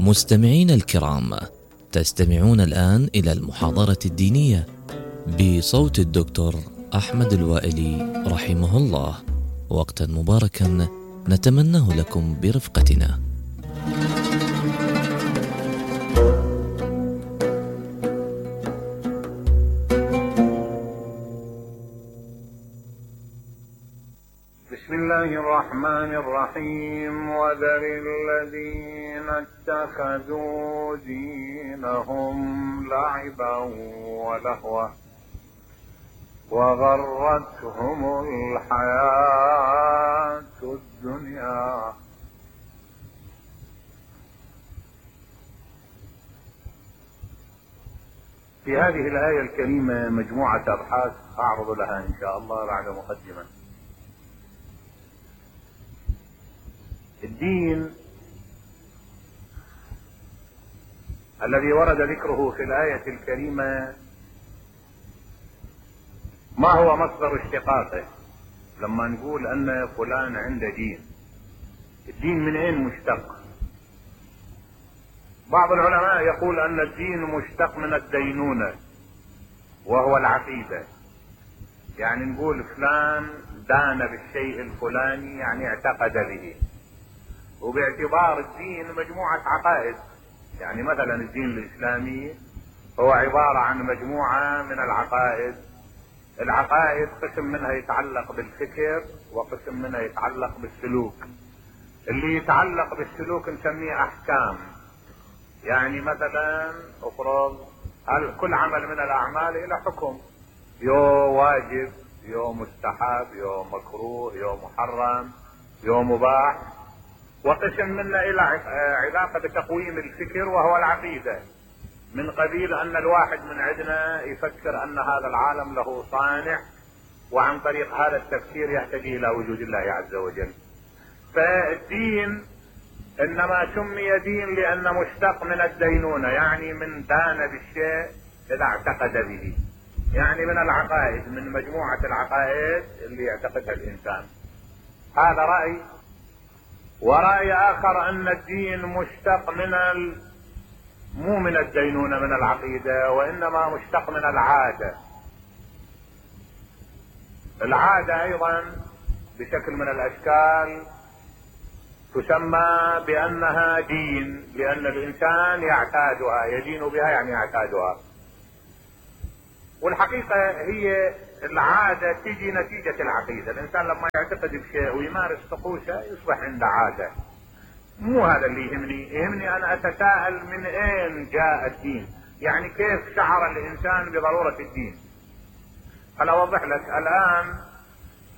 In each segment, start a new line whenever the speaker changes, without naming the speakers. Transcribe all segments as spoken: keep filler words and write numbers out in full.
مستمعين الكرام، تستمعون الآن إلى المحاضرة الدينية بصوت الدكتور أحمد الوائلي رحمه الله. وقتا مباركا نتمناه لكم برفقتنا.
بسم الله الرحمن الرحيم. وذر الذين اتخذوا دينهم لعبا ولهوا وغرتهم الحياة الدنيا في هذه الآية الكريمة مجموعة أبحاث أعرض لها إن شاء الله بعد مقدمة. الدين الذي ورد ذكره في الآية الكريمة ما هو مصدر اشتقاقه؟ لما نقول أن فلان عنده دين، الدين من أين مشتق؟ بعض العلماء يقول أن الدين مشتق من الدينونة وهو العقيدة، يعني نقول فلان دان بالشيء الفلاني يعني اعتقد به، وباعتبار الدين مجموعة عقائد، يعني مثلا الدين الإسلامي هو عبارة عن مجموعة من العقائد. العقائد قسم منها يتعلق بالفكر وقسم منها يتعلق بالسلوك. اللي يتعلق بالسلوك نسميه أحكام، يعني مثلا افرض كل عمل من الأعمال إلى حكم، يو واجب يو مستحب يو مكروه يو محرم يو مباح. وقسم منا الى علاقة بتقويم الفكر وهو العقيدة، من قبيل ان الواحد من عندنا يفكر ان هذا العالم له صانع، وعن طريق هذا التفكير يهتدي الى وجود الله عز وجل. فالدين انما سمي دين لانه مشتق من الدينونة، يعني من دان بالشيء اذا اعتقد به، يعني من العقائد، من مجموعة العقائد اللي يعتقدها الانسان. هذا رأي. ورأي آخر أن الدين مشتق من ال... مو من الدينونة من العقيدة، وإنما مشتق من العادة. العادة أيضا بشكل من الأشكال تسمى بأنها دين، لأن الإنسان يعتادها، يدين بها يعني يعتادها. والحقيقة هي العادة تيجي نتيجة العقيدة. الإنسان لما يعتقد بشيء ويمارس طقوسه يصبح عنده عادة. مو هذا اللي يهمني، يهمني أنا أتساءل من أين جاء الدين، يعني كيف شعر الإنسان بضرورة الدين. أنا أوضح لك. الآن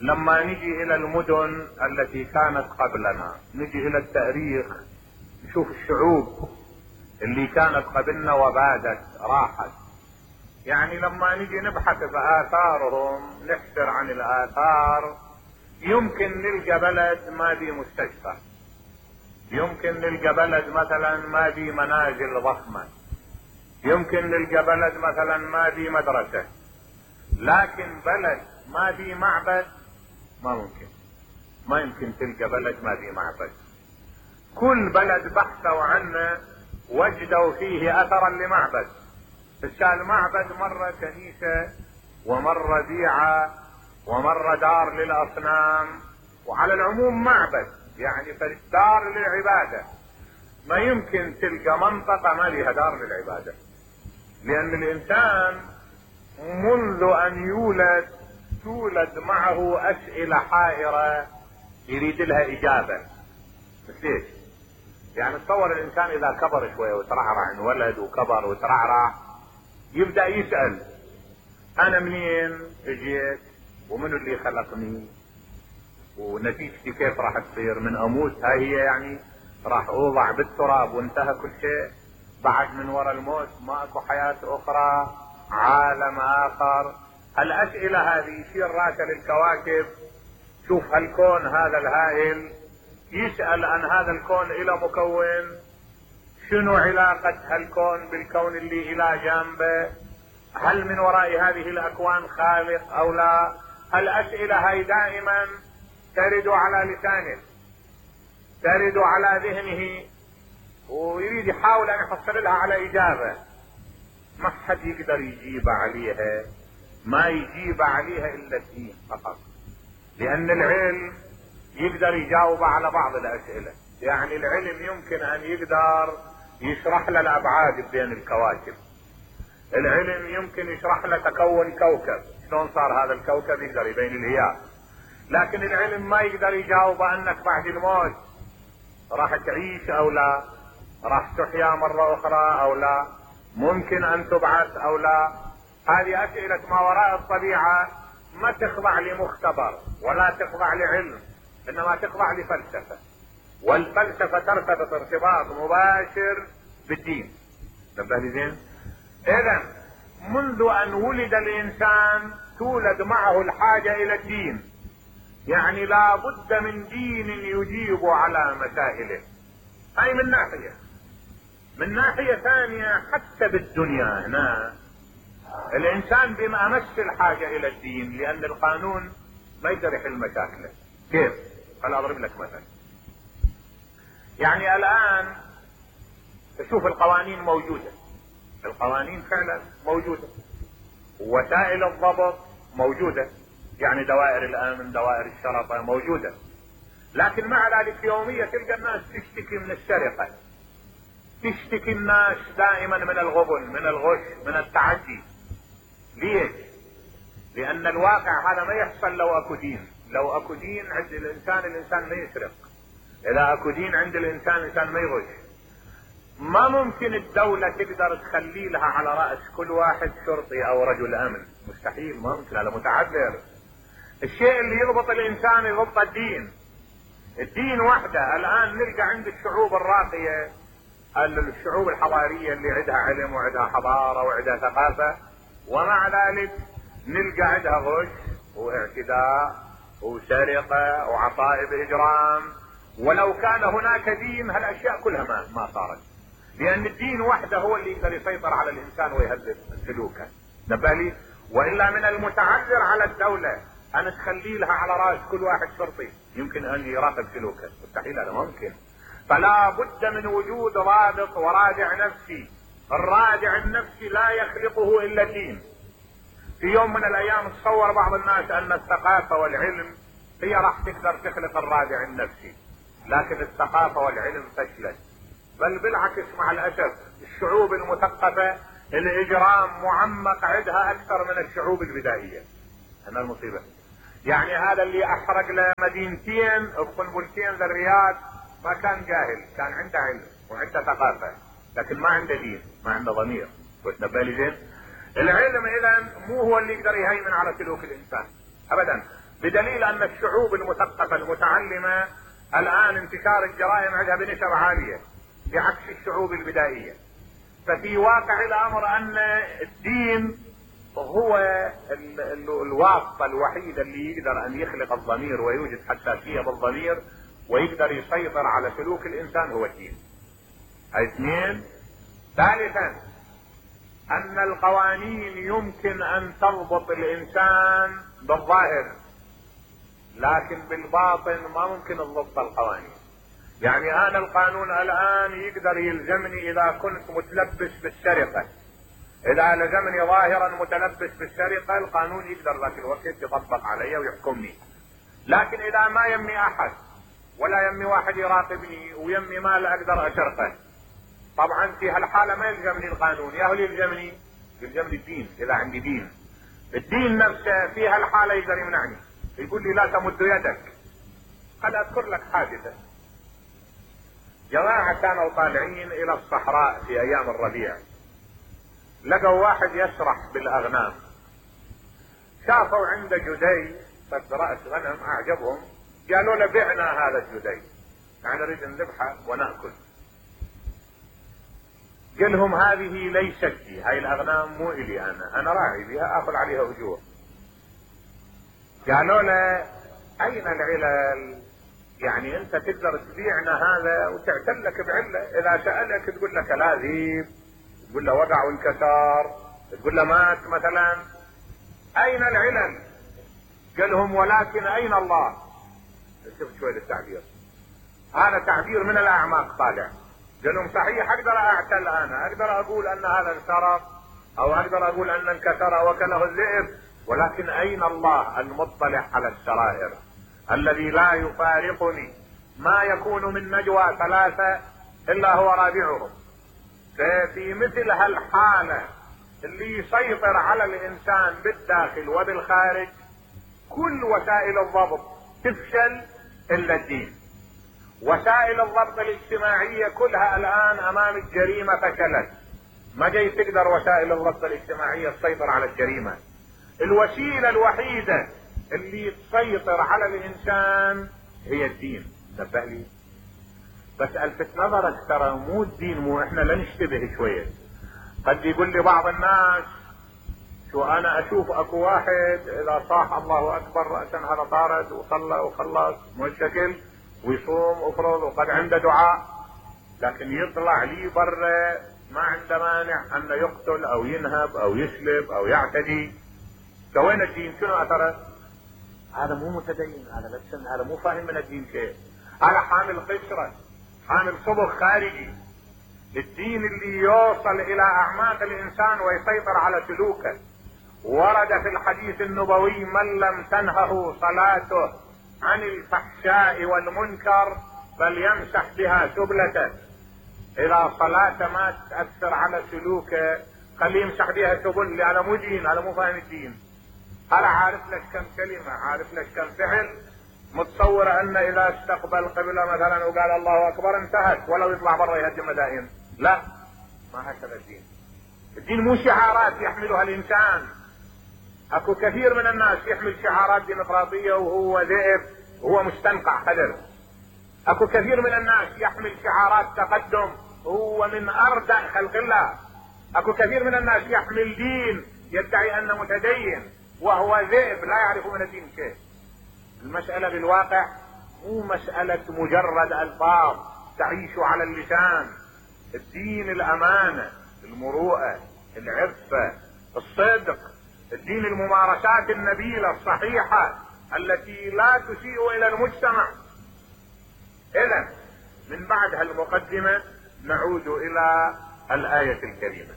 لما نجي إلى المدن التي كانت قبلنا، نجي إلى التاريخ، نشوف الشعوب اللي كانت قبلنا وبادت راحت. يعني لما نجي نبحث في آثارهم، نحسر عن الآثار، يمكن نلقى بلد ما بي مستشفى، يمكن نلقى بلد مثلا ما بي منازل ضخمة، يمكن نلقى بلد مثلا ما بي مدرسة، لكن بلد ما بي معبد ما ممكن. ما يمكن تلقى بلد ما بي معبد. كل بلد بحثوا عنه وجدوا فيه أثرا لمعبد. فالشال معبد مرة كنيسة ومرة بيعة ومرة دار للأصنام، وعلى العموم معبد، يعني فالدار للعبادة. ما يمكن تلقى منطقة ما لها دار للعبادة، لأن الإنسان منذ أن يولد تولد معه أسئلة حائرة يريد لها إجابة. بس ليش؟ يعني تصور الإنسان إذا كبر شوية وترعرع، انولد وكبر وترعرع، يبدأ يسأل انا منين اجيت، ومنو اللي خلقني، ونتيجتي كيف راح تصير، من اموت هاي هي يعني راح اوضع بالتراب وانتهى كل شيء، بعد من وراء الموت ما اكو حياة اخرى، عالم اخر. الاسئلة هذه يصير راسل الكواكب، شوف هالكون هذا الهائل، يسأل عن هذا الكون الى مكون، شنو علاقة هالكون بالكون اللي الى جانبه، هل من وراء هذه الاكوان خالق او لا. الاسئلة هاي دائما ترد على لسانه، ترد على ذهنه، ويريد يحاول ان يحصل لها على اجابة، ما حد يقدر يجيب عليها، ما يجيب عليها الا الدين فقط، لان العلم يقدر يجاوب على بعض الاسئلة. يعني العلم يمكن ان يقدر يشرح لنا الابعاد بين الكواكب، العلم يمكن يشرح لنا تكون كوكب، شلون صار هذا الكوكب، يقدر يبين الهياء. لكن العلم ما يقدر يجاوب انك بعد الموت راح تعيش او لا، راح تحيا مرة اخرى او لا، ممكن ان تبعث او لا. هذه اسئلة ما وراء الطبيعة ما تخضع لمختبر ولا تخضع لعلم، انما تخضع لفلسفة، والفلسفة ترتبط ارتباط مباشر بالدين. نبه لي زين. اذا منذ ان ولد الانسان تولد معه الحاجة الى الدين، يعني لا بد من دين يجيب على مسائله. هاي من ناحية. من ناحية ثانية حتى بالدنيا هنا الانسان بأمس الحاجة الى الدين، لان القانون ما يقدر يحل مشاكله. كيف؟ خل اضرب لك مثلا. يعني الان تشوف القوانين موجودة، القوانين فعلا موجودة، وسائل الضبط موجودة، يعني دوائر الامن، دوائر الشرطة موجودة، لكن مع ذلك يوميا تلقى الناس تشتكي من السرقة، تشتكي الناس دائما من الغبن، من الغش، من التعدي. ليش؟ لان الواقع هذا ما يحصل لو اكو دين. لو اكو دين عند الانسان، الانسان ما يسرق. اذا اكو دين عند الانسان، الانسان ما يغش. ما ممكن الدولة تقدر تخلي لها على رأس كل واحد شرطي او رجل امن، مستحيل، ما ممكن، هذا متعذر. الشيء اللي يضبط الانسان يضبط الدين. الدين وحده. الان نلقى عند الشعوب الراقية، الشعوب الحضارية اللي عندها علم وعندها حضارة وعندها ثقافة، ومع ذلك نلقى عندها غش واعتداء وسرقة وعصائب اجرام. ولو كان هناك دين هالاشياء كلها ما, ما صارت، لان الدين وحده هو اللي يقدر يسيطر على الانسان ويهذب سلوكه. نبالي. والا من المتعذر على الدولة ان تخلي لها على راس كل واحد شرطي يمكن ان يراقب سلوكه، مستحيل، هذا ممكن. فلا بد من وجود ضابط ورادع نفسي. الرادع النفسي لا يخلقه الا الدين. في يوم من الايام تصور بعض الناس ان الثقافة والعلم هي راح تقدر تخلق الرادع النفسي، لكن الثقافة والعلم فشلت. بل بالعكس مع الاسف الشعوب المثقفة الاجرام معمق عندها اكثر من الشعوب البدائية. هنا المصيبة. يعني هذا اللي احرق له مدينتين بقنبلتين للرياض ما كان جاهل، كان عنده علم وعنده ثقافة، لكن ما عنده دين، ما عنده ضمير. وتنبالي زين. العلم اذا مو هو اللي يقدر يهيمن على سلوك الانسان ابدا، بدليل ان الشعوب المثقفة المتعلمة الان انتشار الجرائم عندها بنسب عالية بعكس الشعوب البدائية. ففي واقع الامر ان الدين هو ال ال الواسطة الوحيدة اللي يقدر ان يخلق الضمير ويوجد حساسية بالضمير ويقدر يسيطر على سلوك الانسان، هو الدين. اثنين. ثالثا ان القوانين يمكن ان تضبط الانسان بالظاهر، لكن بالباطن ما ممكن تضبط القوانين. يعني انا القانون الان يقدر يلزمني اذا كنت متلبس بالسرقة، اذا لزمني ظاهرا متلبس بالسرقة القانون يقدر ذاك الوقت يطبق علي ويحكمني. لكن اذا ما يمي احد ولا يمي واحد يراقبني ويمي مال اقدر اسرقه، طبعا في هالحالة ما يلزمني القانون، يا هو يلزمني يلزمني الدين. اذا عندي دين، الدين نفسه في هالحالة يقدر يمنعني، يقول لي لا تمد يدك. قد اذكر لك حادثة. جماعة كانوا طالعين الى الصحراء في ايام الربيع، لقوا واحد يسرح بالاغنام، شافوا عنده جدي قد رأس غنم اعجبهم، قالوا له بعنا هذا الجدي، يعني نريد نذبحه ونأكل. قال لهم هذه ليست لي، هاي الاغنام مو الي انا، انا راعي بها اخذ عليها اجور. قالوا له اين العلل؟ يعني انت تقدر تبيعنا هذا وتعتلك بعله، اذا سألك تقول له كلاذيب، تقول له وقع وانكسر، تقول له مات مثلا. اين العلل؟ قال لهم ولكن اين الله؟ شوف شوي التعبير، هذا تعبير من الاعماق طالع. قال لهم صحيح اقدر اعتل، انا اقدر اقول ان هذا انسرق او اقدر اقول ان انكسر وكله الذئب، ولكن اين الله المطلع على السرائر الذي لا يفارقني ما يكون من نجوى ثلاثة الا هو رابعهم. ففي مثل هالحالة اللي يسيطر على الانسان بالداخل وبالخارج كل وسائل الضبط تفشل الا الدين. وسائل الضبط الاجتماعية كلها الان امام الجريمة فشلت، ما جاي تقدر وسائل الضبط الاجتماعية تسيطر على الجريمة. الوسيلة الوحيدة اللي تسيطر على الانسان هي الدين. نبه لي بس الفت نظرك، ترى مو الدين، مو احنا لا نشتبه شوية. قد يقول لي بعض الناس شو انا اشوف اكو واحد اذا صاح الله اكبر رأسا هذا طارد وصلى وخلص مشكل ويصوم وفرض وقد عنده دعاء، لكن يطلع لي برا ما عنده مانع انه يقتل او ينهب او يسلب او يعتدي. فوين الدين؟ شنو اثره؟ هذا مو متدين، هذا بس هذا مو فاهم من الدين شيء، هذا حامل قشرة، حامل صبغ خارجي. الدين اللي يوصل الى اعماق الانسان ويسيطر على سلوكه. ورد في الحديث النبوي من لم تنهه صلاته عن الفحشاء والمنكر فليمسح بها سبلته. اذا صلاته ما تأثر على سلوكه خليه يمسح بها سبل، لأنه مو دين، هذا مو فاهم الدين. هذا عارف لك كم كلمة، عارف لك كم فعل، متصور ان اذا استقبل قبله مثلا وقال الله اكبر انتهت، ولو يطلع برا يهدم مدائن. لا، ما هكذا الدين. الدين مو شعارات يحملها الانسان. اكو كثير من الناس يحمل شعارات ديمقراطية وهو ذئب وهو مستنقع خدر. اكو كثير من الناس يحمل شعارات تقدم وهو من اردأ خلق الله. اكو كثير من الناس يحمل دين يدعي انه متدين وهو ذئب لا يعرف من الدين شيء. المسألة بالواقع مو مسألة مجرد الفاظ تعيش على اللسان. الدين الامانة، المروءة، العفة، الصدق، الدين الممارسات النبيلة الصحيحة التي لا تسيء الى المجتمع. اذا من بعد هالمقدمة نعود الى الآية الكريمة.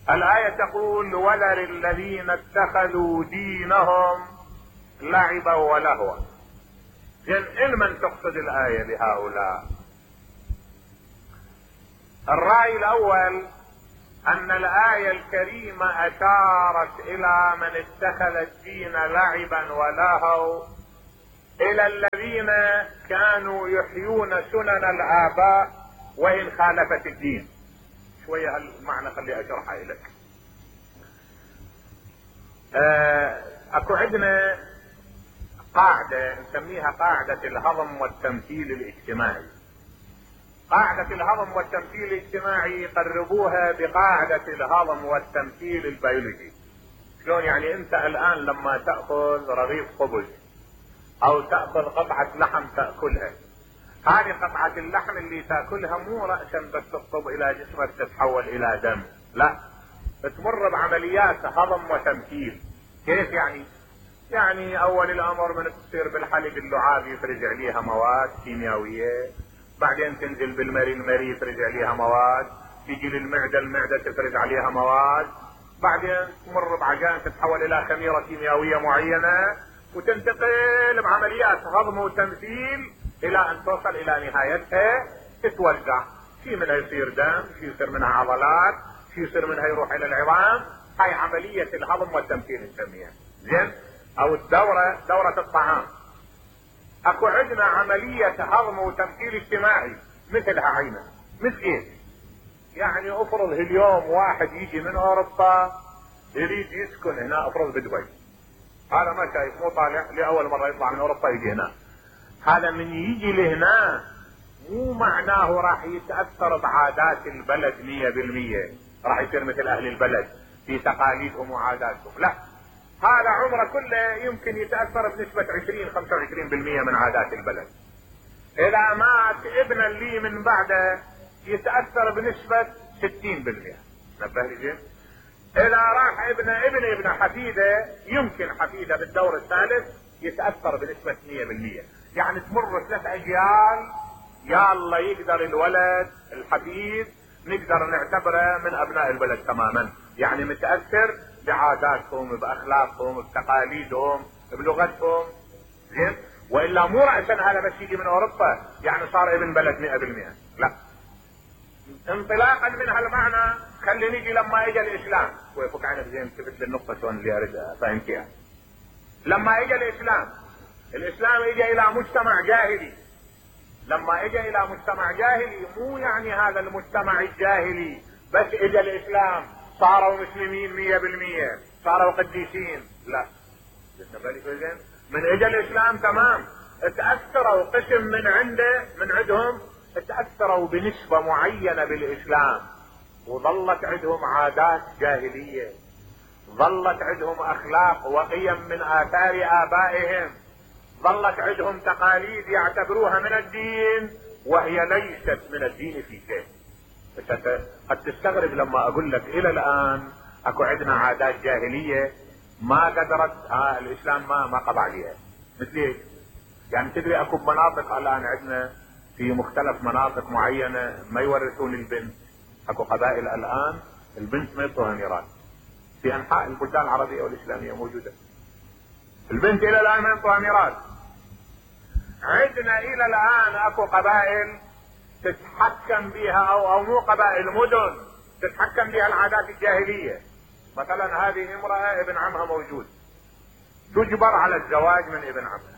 الآية تقول وذر الذين اتخذوا دينهم لعبا ولهوا. زين، من تقصد الآية بهؤلاء؟ الرأي الأول أن الآية الكريمة أشارت إلى من اتخذ الدين لعبا ولهوا، إلى الذين كانوا يحيون سنن الآباء وإن خالفت الدين. شوية هالمعنى خلي أشرحها لك. أكو عندنا قاعدة نسميها قاعدة الهضم والتمثيل الاجتماعي. قاعدة الهضم والتمثيل الاجتماعي يقربوها بقاعدة الهضم والتمثيل البيولوجي. شلون يعني؟ انت الان لما تأخذ رغيف خبز او تأخذ قطعة لحم تأكلها، هذه قطعة اللحم اللي تأكلها مو رأسا بس تطب الى جسمك تتحول الى دم، لا، تمر بعمليات هضم وتمثيل. كيف يعني؟ يعني اول الامر من تصير بالحليب اللعاب يفرز عليها مواد كيميائية، بعدين تنزل بالمري، المري يفرز عليها مواد، تيجي للمعدة، المعدة تفرز عليها مواد، بعدين تمر بعجان تتحول الى خميرة كيميائية معينة، وتنتقل بعمليات هضم وتمثيل الى ان توصل الى نهايتها تتوزع. في منها يصير دم، في يصير منها عضلات، في يصير منها يروح الى العظام. هاي عملية الهضم والتمثيل نسميها. زين؟ او الدورة، دورة الطعام. اكو عندنا عملية هضم وتمثيل اجتماعي مثلها عينة. مثل ايه؟ يعني افرض اليوم واحد يجي من اوروبا يريد يسكن هنا، افرض بدبي، هذا ما شايف، مو طالع لاول مرة يطلع من اوروبا يجي هنا. هذا من يجي لهنا مو معناه راح يتأثر بعادات البلد مية بالمية، راح يصير مثل اهل البلد في تقاليدهم وعاداتهم، لا، هذا عمره كله يمكن يتأثر بنسبة عشرين خمسة وعشرين بالمية من عادات البلد. اذا مات ابن لي من بعده يتأثر بنسبة ستين بالمية. نبه لي زين؟ اذا راح ابن ابن ابن حفيده، يمكن حفيده بالدور الثالث يتأثر بنسبة مية بالمية. يعني تمر ثلاث اجيال يا الله يقدر الولد الحفيد نقدر نعتبره من ابناء البلد تماما، يعني متأثر بعاداتهم باخلاقهم بتقاليدهم بلغتهم، زين؟ والا مو رأسا هذا بس يجي من اوروبا يعني صار ابن بلد مئة بالمئة، لا. انطلاقا من هالمعنى خلي نيجي لما اجى الاسلام، ويفك عنك زين ثبت للنقطة شلون اللي اريد افهمك. لما اجى الاسلام، الاسلام اجى الى مجتمع جاهلي. لما اجى الى مجتمع جاهلي مو يعني هذا المجتمع الجاهلي بس اجى الاسلام صاروا مسلمين مية بالمية، صاروا قديسين، لا. من اجى الاسلام تمام اتأثروا قسم من عنده من عندهم اتأثروا بنسبة معينة بالاسلام، وظلت عندهم عادات جاهلية، ظلت عندهم اخلاق وقيم من اثار ابائهم، ظلت عندهم تقاليد يعتبروها من الدين وهي ليست من الدين في شيء. بس قد تستغرب لما اقول لك الى الان اكو عندنا عادات جاهلية ما قدرت آه الاسلام ما ما قضى عليها. مثل ايش؟ يعني تدري اكو مناطق الان عندنا في مختلف مناطق معينة ما يورثون البنت، اكو قبائل الان البنت ما يعطوها ميراث في انحاء البلدان العربية والاسلامية موجودة. البنت الى الان ما يعطوها ميراث. عندنا الى الان اكو قبائل تتحكم بها او او مو قبائل، مدن تتحكم بها العادات الجاهلية. مثلا هذه امرأة ابن عمها موجود، تجبر على الزواج من ابن عمها.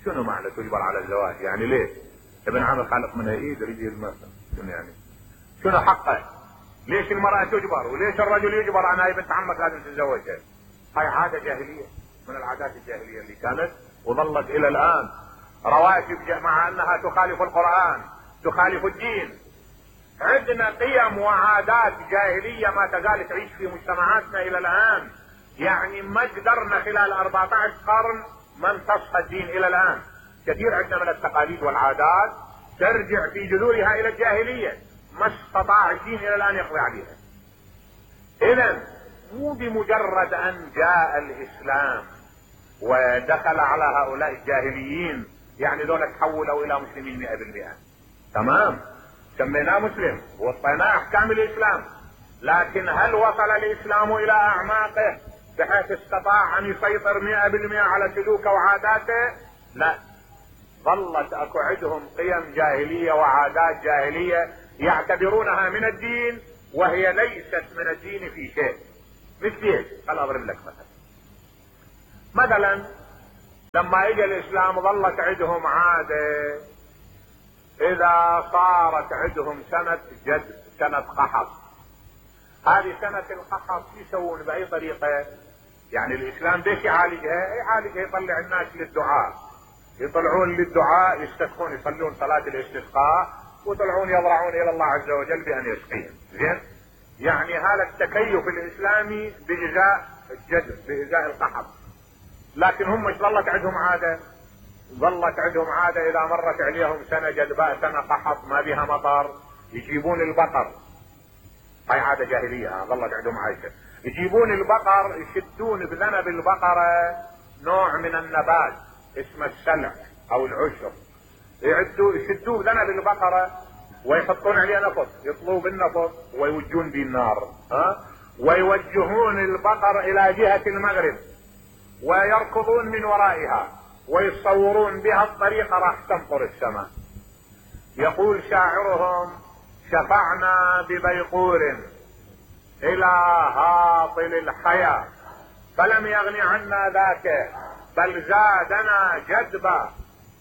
شنو معنى تجبر على الزواج؟ يعني ليه؟ ابن عمها خالق منها ايد يريد المثل، شنو يعني؟ شنو حقه؟ ليش المرأة تجبر؟ وليش الرجل يجبر انا بنت عمك لازم تتزوجها؟ هاي عادة جاهلية من العادات الجاهلية اللي كانت وظلت الى الان رواتب مع انها تخالف القرآن تخالف الدين. عندنا قيم وعادات جاهلية ما تزال تعيش في مجتمعاتنا الى الان، يعني ما قدرنا خلال أربعة عشر قرن ما امتصها الدين الى الان. كثير عندنا من التقاليد والعادات ترجع في جذورها الى الجاهلية، ما استطاع الدين الى الان يقضي عليها. اذا مو بمجرد ان جاء الاسلام ودخل على هؤلاء الجاهليين يعني دول تحولوا الى مسلمين مئة بالمئة، تمام، سميناه مسلم ووصيناه احكام الاسلام، لكن هل وصل الاسلام الى اعماقه بحيث استطاع ان يسيطر مئة بالمئة على سلوكه وعاداته؟ لا. ظلت اكو عندهم قيم جاهلية وعادات جاهلية يعتبرونها من الدين وهي ليست من الدين في شيء. مثل ايش؟ خل اضرب لك مثلا. مثلا لما اجى الاسلام ظلت عندهم عادة اذا صارت عندهم سنة جد سنة قحط، هذه سنة القحط يسوون باي طريقة؟ يعني الاسلام ليش يعالجها؟ يعالجها يطلع الناس للدعاء، يطلعون للدعاء يستسقون يصلون صلاة الاستسقاء ويطلعون يضرعون الى الله عز وجل بان يسقيهم. زين؟ يعني هذا التكيف الاسلامي بإزاء الجد بإزاء القحط. لكن هم مش ظلت عندهم عادة؟ ظلت عندهم عادة اذا مرت عليهم سنة جدباء سنة قحط ما بها مطر يجيبون البقر، هاي عادة جاهلية ظلت عندهم عايشة، يجيبون البقر يشدون بذنب البقرة نوع من النبات اسمه السلع او العشر، يعدوا يشدوه بذنب البقرة ويحطون عليه نفط، يطلوا بالنفط ويوجون به النار، ها، ويوجهون البقر الى جهة المغرب ويركضون من ورائها ويصورون بها الطريقة راح تمطر السماء. يقول شاعرهم: شفعنا ببيقور الى هاطل الحياة فلم يغن عنا ذاك بل زادنا جدبا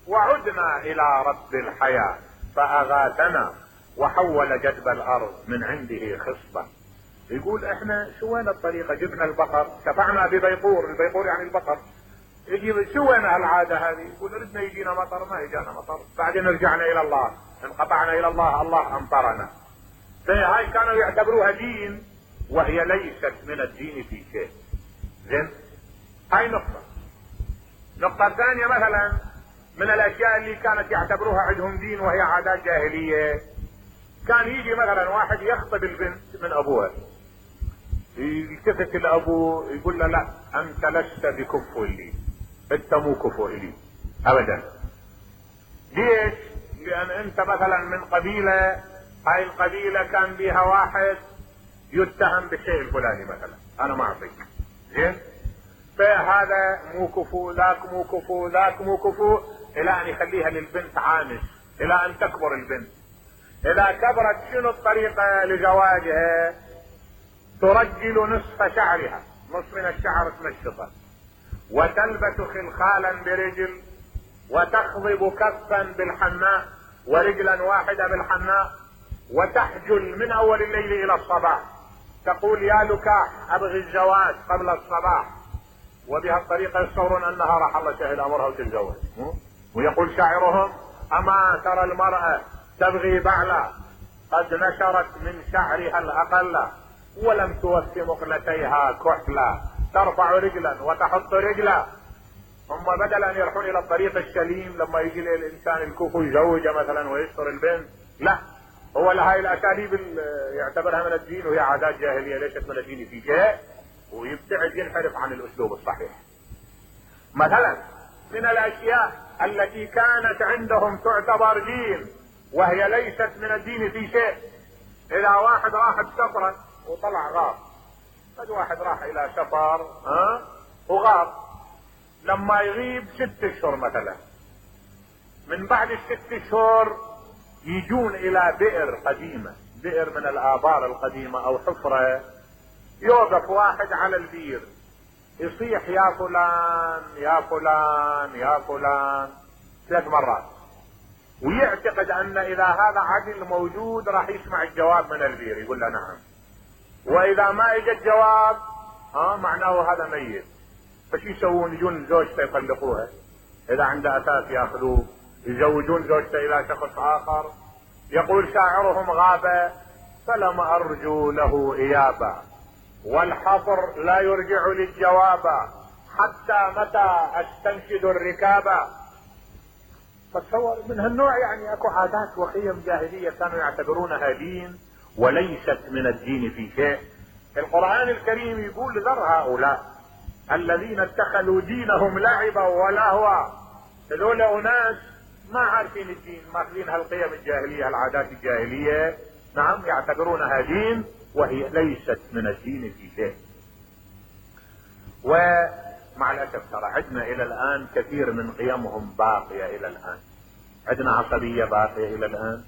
وعدنا الى رب الحياة فاغاثنا وحول جدب الارض من عنده خصبة. يقول احنا سوينا الطريقة، جبنا البقر، شفعنا ببيقور، البيقور يعني البقر، يجي سوينا العادة هذه، يقول ردنا يجينا مطر ما يجانا مطر، بعدين رجعنا الى الله، انقطعنا الى الله، الله امطرنا. فهاي كانوا يعتبروها دين وهي ليست من الدين في شيء. زين؟ هاي نقطة. نقطة ثانية مثلا من الاشياء اللي كانت يعتبروها عندهم دين وهي عادات جاهلية، كان يجي مثلا واحد يخطب البنت من ابوها، يلتفت لابوه يقول له: لا انت لست بكفء لي، انت مو كفء لي ابدا، ليش؟ لان انت مثلا من قبيلة، هاي القبيلة كان بيها واحد يتهم بالشيء الفلاني مثلا، انا ما اعطيك، زين؟ فهذا مو كفو، ذاك مو كفو، ذاك مو كفو، الى ان يخليها للبنت عانس، الى ان تكبر البنت. اذا كبرت شنو الطريقة لزواجها؟ ترجل نصف شعرها، نصف من الشعر تمشطه، وتلبس خلخالا برجل، وتخضب كفا بالحناء ورجلا واحدة بالحناء، وتحجل من اول الليل الى الصباح، تقول يا لكاح ابغي الزواج قبل الصباح، وبهالطريقة يتصورون انها راح الله سهل امرها وتتزوج. ويقول شاعرهم: اما ترى المرأة تبغي بعلا قد نشرت من شعرها الاقل، ولم توفي مقلتيها كحلا، ترفع رجلا وتحط رجلا. هم بدل ان يروحون الى الطريق السليم لما يجي الانسان الكفو يزوجه مثلا ويستر البنت، لا، هو لهاي الاساليب يعتبرها من الدين، وهي عادات جاهلية ليست من الدين في شيء، ويبتعد ينحرف عن الاسلوب الصحيح. مثلا من الاشياء التي كانت عندهم تعتبر دين وهي ليست من الدين في شيء، اذا واحد راح بسفرة وطلع غار، قد واحد راح الى سفر ها وغار، لما يغيب ست اشهر مثلا، من بعد الست اشهر يجون الى بئر قديمة، بئر من الابار القديمة او حفرة، يوقف واحد على البير يصيح يا فلان يا فلان يا فلان ثلاث مرات، ويعتقد ان اذا هذا عدل موجود راح يسمع الجواب من البير، يقول له نعم، واذا ما اجى الجواب ها معناه هذا ميت. فشو يسوون؟ يجون زوجته يطلقوها، اذا عنده اساس ياخذوه، يزوجون زوجته الى شخص اخر. يقول شاعرهم: غاب فلم ارجو له ايابا، والحفر لا يرجع للجواب، حتى متى استنشد الركابا. فتصور من هالنوع، يعني اكو عادات وقيم جاهلية كانوا يعتبرونها دين وليست من الدين في شيء. القرآن الكريم يقول: ذر هؤلاء الذين اتخذوا دينهم لعبا ولهوا، هذول اناس ما عارفين الدين، ماخذين هالقيم الجاهلية، العادات الجاهلية، نعم، يعتبرونها دين وهي ليست من الدين في شيء. ومع الاسف ترى عندنا الى الان كثير من قيمهم باقية الى الان، عندنا عصبية باقية الى الان،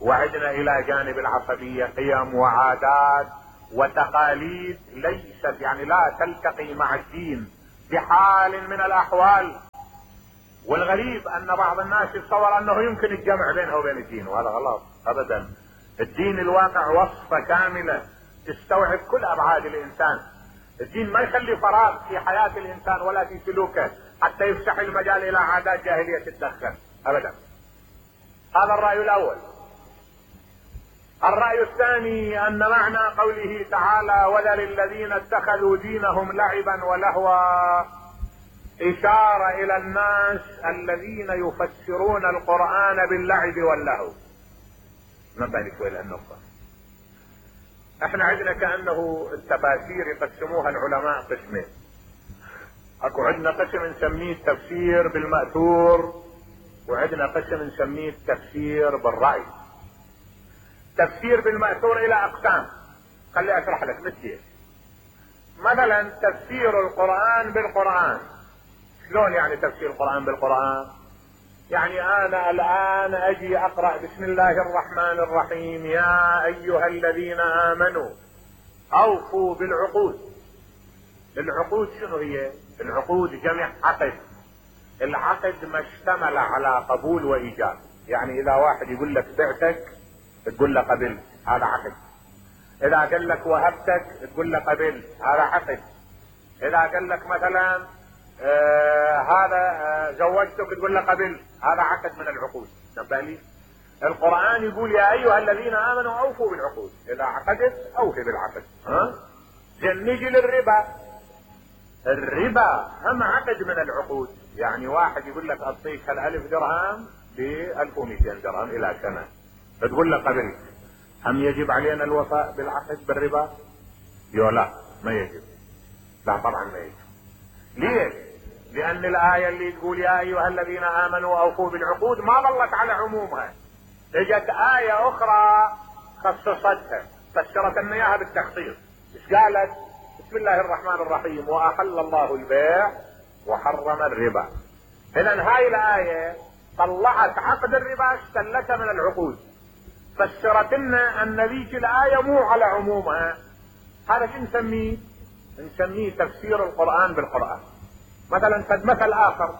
وعندنا الى جانب العصبية قيم وعادات وتقاليد ليست، يعني لا تلتقي مع الدين بحال من الاحوال. والغريب ان بعض الناس يتصور انه يمكن الجمع بينه وبين الدين، وهذا غلط ابدا. الدين الواقع وصفة كاملة تستوعب كل ابعاد الانسان. الدين ما يخلي فراغ في حياة الانسان ولا في سلوكه حتى يفتح المجال الى عادات جاهلية تتدخل ابدا. هذا الرأي الاول. الرأي الثاني ان معنى قوله تعالى: وذر الذين اتخذوا دينهم لعبا ولهوا، اشارة الى الناس الذين يفسرون القرآن باللعب واللهو. نبه شوي لهالنقطة. احنا عندنا كأنه التفاسير يقسموها العلماء قسمين. اكو عندنا قسم نسميه التفسير بالمأثور، وعندنا قسم نسميه التفسير بالرأي. تفسير بالمأثور الى اقسام، خلي اشرح لك مثل مثلا تفسير القرآن بالقرآن. شلون يعني تفسير القرآن بالقرآن؟ يعني انا الان اجي اقرأ بسم الله الرحمن الرحيم: يا ايها الذين امنوا اوفوا بالعقود. العقود شنو هي؟ العقود جمع عقد. العقد ما اشتمل على قبول وايجاب، يعني اذا واحد يقول لك بعتك تقول له قبلت، هذا عقد. اذا قال لك وهبتك تقول له قبلت، هذا عقد. اذا قال لك مثلا آه هذا آه زوجتك تقول له قبلت، هذا عقد من العقود. نبالي القرآن يقول: يا ايها الذين امنوا اوفوا بالعقود، اذا عقدت اوفي بالعقد. ها زين نجي للربا. الربا هم عقد من العقود، يعني واحد يقول لك اعطيك هالالف درهم ب ألف ومئتين درهم الى سنة، فتقول له قبلت. هم يجب علينا الوفاء بالعقد بالربا؟ يو لا، ما يجب. لا طبعا ما يجب. ليش؟ لان الايه اللي تقول يا ايها الذين امنوا اوفوا بالعقود ما ظلت على عمومها، اجت ايه اخرى خصصتها فسرت لنا اياها بالتخصيص. ايش قالت؟ بسم الله الرحمن الرحيم واحل الله البيع وحرم الربا. اذا هاي الايه طلعت عقد الربا استلته من العقود، فسرت لنا ان ذيك الايه مو على عمومها. هذا شو نسميه؟ نسميه تفسير القرآن بالقرآن. مثلا قد مثل اخر،